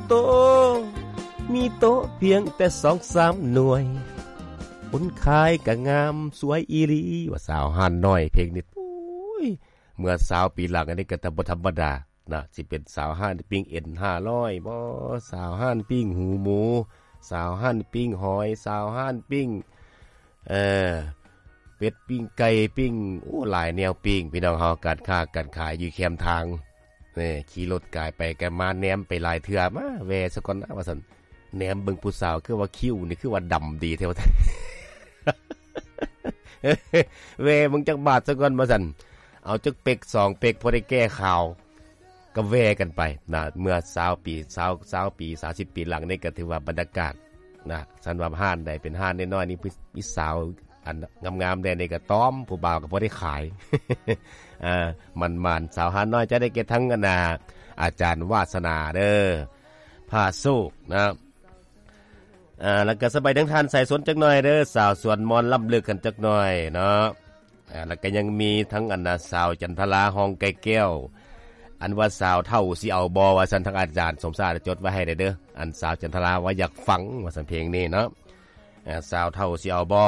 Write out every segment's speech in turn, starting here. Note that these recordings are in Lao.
ໂຕ ມີໂຕະພຽງແຕ່ສອງສາມໜ່ວຍ ຄົນຂາຍກະງາມສວຍອີ່ຫຼີ ວ່າສາວຮ້ານນ້ອຍ ເພງນີ້ ໂອ້ຍ ເມື່ອຊາວປີຫຼັງອັນນີ້ກໍບໍ່ທຳມະດານະ ຊິເປັນສາວຮ້ານປີ້ງເອັນຫ້າຮ້ອຍບໍ ສາວຮ້ານປີ້ງຫູໝູ ສາວຮ້ານປີ້ງຫອຍ ສາວຮ້ານປີ້ງ ເອີ ເປັດ ປີ້ງໄກ່ ປີ້ງ ໂອ້ ຫຼາຍແນວປີ້ງ ພີ່ນ້ອງເຮົາ ການຄ້າການຂາຍຢູ່ແຄມທາງ ແນ່ ຂີ່ລົດກາຍໄປກາຍມາ ແນມໄປຫຼາຍເທື່ອ ມາແວ່ຊະກ່ອນນະ ວ່າຊັ້ນ ແນມເບິ່ງຜູ້ສາວ ຄືວ່າຄິ້ວນີ້ຄືວ່າດຳດີແທ້ ວ່າຊັ້ນ ແວ່ເບິ່ງຈັກບາດຊະກ່ອນ ວ່າຊັ້ນ ເອົາຈັກເປັກສອງເປັກ ພໍໄດ້ແກ້ຂາວ ກໍແວ່ກັນໄປນະ ເມື່ອຊາວປີ ຊາວ ຊາວປີ ສາມສິບປີຫຼັງນີ້ ກໍຖືວ່າບັນຍາກາດນະ ຄັນວ່າຮ້ານໃດເປັນຮ້ານນ້ອຍໆນີ້ ມີສາວອັນງາມໆແດ່ນີ້ ກໍຕ້ອມຜູ້ບ່າວກໍບໍ່ໄດ້ຂາຍ ອ່າ ໝານໆ ສາວຮ້ານນ້ອຍ ຈະໄດ້ແກ່ທັງອັນນ່າ ອາຈານວາສະໜາເດີ ພາໂຊກນະ ອ່າ ແລ້ວກໍສະບາຍທັງທ່ານສາຍຊົນຈັກໜ່ອຍເດີ ສາວສວນມອນລ້ຳເລິກກັນຈັກໜ່ອຍເນາະ ອ່າ ແລ້ວກໍຍັງມີທັງອັນນ່າ ສາວຈັນທະລາ ຮ້ອງໄກ່ແກ້ວ ອັນວ່າສາວເຖົ້າຊິເອົາບໍ່ ວ່າຊັ້ນ ທາງອາຈານສົມຊາດຈົດໄວ້ໃຫ້ແດ່ເດີ ອັນສາວຈັນທະລາວ່າຢາກຟັງ ວ່າຊັ້ນ ເພງນີ້ເນາະ ອ່າ ສາວເຖົ້າຊິເອົາບໍ່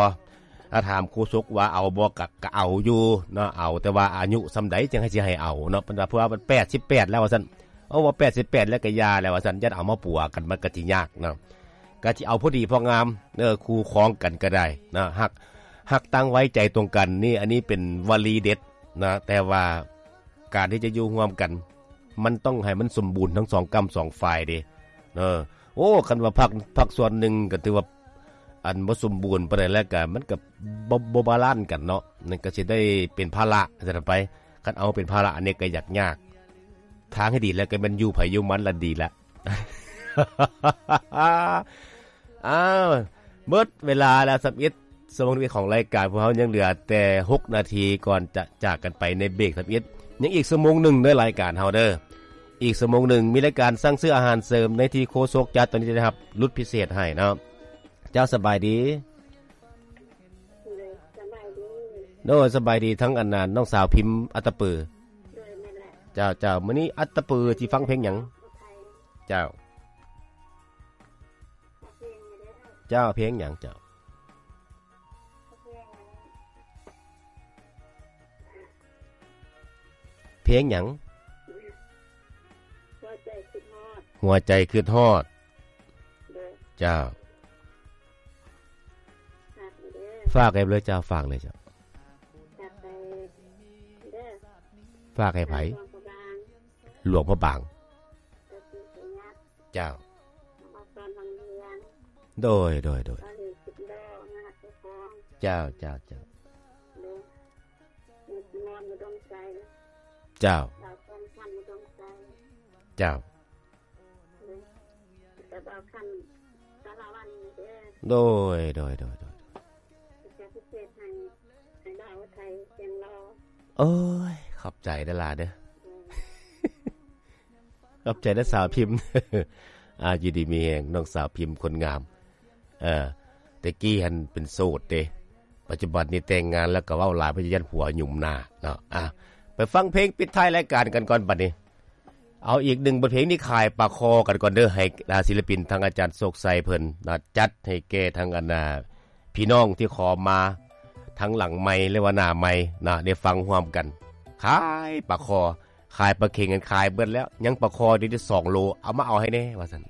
ຖ້າຖາມໂຄສົກວ່າເອົາບໍ່ ກະ ກະເອົາຢູ່ເນາະ ເອົາ ແຕ່ວ່າອາຍຸສ່ຳໃດຈັ່ງໃຫ້ ຊິໃຫ້ເອົາເນາະ ເພິ່ນວ່າ ເພາະວ່າມັນແປດສິບແປດແລ້ວ ວ່າຊັ້ນ ເອົາ ວ່າແປດສິບແປດແລ້ວກະຢ່າແລ້ວ ວ່າຊັ້ນ ຢ້ານເອົາມາປົວກັນ ມັນກະຊິຍາກເນາະ ກະຊິເອົາພໍດີພໍງາມ ເອີ ຄູ່ຄອງກັນກະໄດ້ນະ ຮັກ ຮັກຕ່າງໄວໃຈຕົງກັນ ນີ້ ອັນນີ້ເປັນວະລີເດັດນະ ແຕ່ວ່າການທີ່ຈະຢູ່ຮ່ວມກັນ ມັນຕ້ອງໃຫ້ມັນສົມບູນທັງສອງກ້ຳສອງຝ່າຍເດ ເອີ ໂອ້ ຄັນວ່າພາກ ພາກສ່ວນໜຶ່ງກະຖືວ່າ ອັນບໍ່ສົມບູນປານໃດແລ້ວກະ ມັນກະບໍ່ ບໍ່ບາລານກັນເນາະ ນັ້ນກະຊິໄດ້ເປັນພາລະຊັ້ນໄປ ຄັນເອົາເປັນພາລະ ອັນນີ້ກະຢາກຍາກ ທາງທີ່ດີແລ້ວກະແມ່ນຢູ່ໃຜຢູ່ມັນລະດີລະ ອ້າວ ໝົດເວລາແລ້ວ ຊາວເອັດ ຊົ່ວໂມງຂອງລາຍການ ພວກເຮົາຍັງເຫຼືອແຕ່ຫົກນາທີ ກ່ອນຈະຈາກກັນໄປໃນເບຣກ ຊາວເອັດ ຍັງອີກຊົ່ວໂມງໜຶ່ງເດີ ລາຍການເຮົາເດີ ອີກຊົ່ວໂມງໜຶ່ງ ມີລາຍການສັ່ງຊື້ອາຫານເສີມໃນທີ່ໂຄສົກຈັດ ຕອນນີ້ຈະໄດ້ຮັບຫຼຸດພິເສດໃຫ້ເນາະ ເຈົ້າ ສະບາຍດີ ໂດຍ ສະບາຍດີ ທັງອັນນ່າ ນ້ອງສາວພິມອັດຕະປື ໂດຍ ແມ່ນແຫຼະ ເຈົ້າ ເຈົ້າ ມື້ນີ້ອັດຕະປືຊິຟັງເພງຫຍັງ ເຈົ້າ ເຈົ້າ ເພງຫຍັງເຈົ້າ ເພງຫຍັງ ຫົວໃຈຄິດຮອດ ຫົວໃຈຄິດຮອດ ໂດຍ ເຈົ້າ ຝາກເດີ ຝາກໃຫ້ເລີຍເຈົ້າ ຝາກເລີຍເຈົ້າ ຝາກໃຫ້ເດີ ຝາກໃຫ້ໃຜ ຫຼວງພະບາງ ຫຼວງພະບາງ ເຈົ້າ ໂດຍ ໂດຍ ໂດຍ ເຈົ້າ ເຈົ້າ ເຈົ້າ ເຈົ້າ ເຈົ້າ ໂດຍ ໂດຍ ໂດຍ ໂດຍ ໂອ້ຍ ຂອບໃຈເດີຫຼາເດີ ຂອບໃຈນະສາວພິມ ອ່າ ຢູ່ດີມີແຮງ ນ້ອງສາວພິມຄົນງາມ ເອີ ແຕ່ກີ້ຫັ້ນເປັນໂສດເດ້ ປັດຈຸບັນນີ້ແຕ່ງງານແລ້ວກໍເວົ້າຫຼາຍ ເພາະຢ້ານຜົວຫຍຸມໜ້າເນາະ ອ່າ ໄປຟັງເພງປິດທ້າຍລາຍການກັນກ່ອນບັດນີ້ ເອົາອີກໜຶ່ງບົດເພງນີ້ ຂາຍປາຄໍກັນກ່ອນເດີ ໃຫ້ ອ່າ ສິລະປິນທາງອາຈານໂຊກໄຊເພິ່ນນະ ຈັດໃຫ້ແກ່ທາງອັນນ່າ ພີ່ນ້ອງທີ່ຂໍມາ ທັງຫຼັງໄມ ຫຼືວ່າໜ້າໄມນະ ໄດ້ຟັງຮ່ວມກັນ ຂາຍປາຄໍ ຂາຍປາເຂັງກັນ ຂາຍເບິດແລ້ວ ຍັງປາຄໍຢູ່ທີ່ສອງໂລ ເອົາມາເອົາໃຫ້ແດ່ ວ່າຊັ້ນ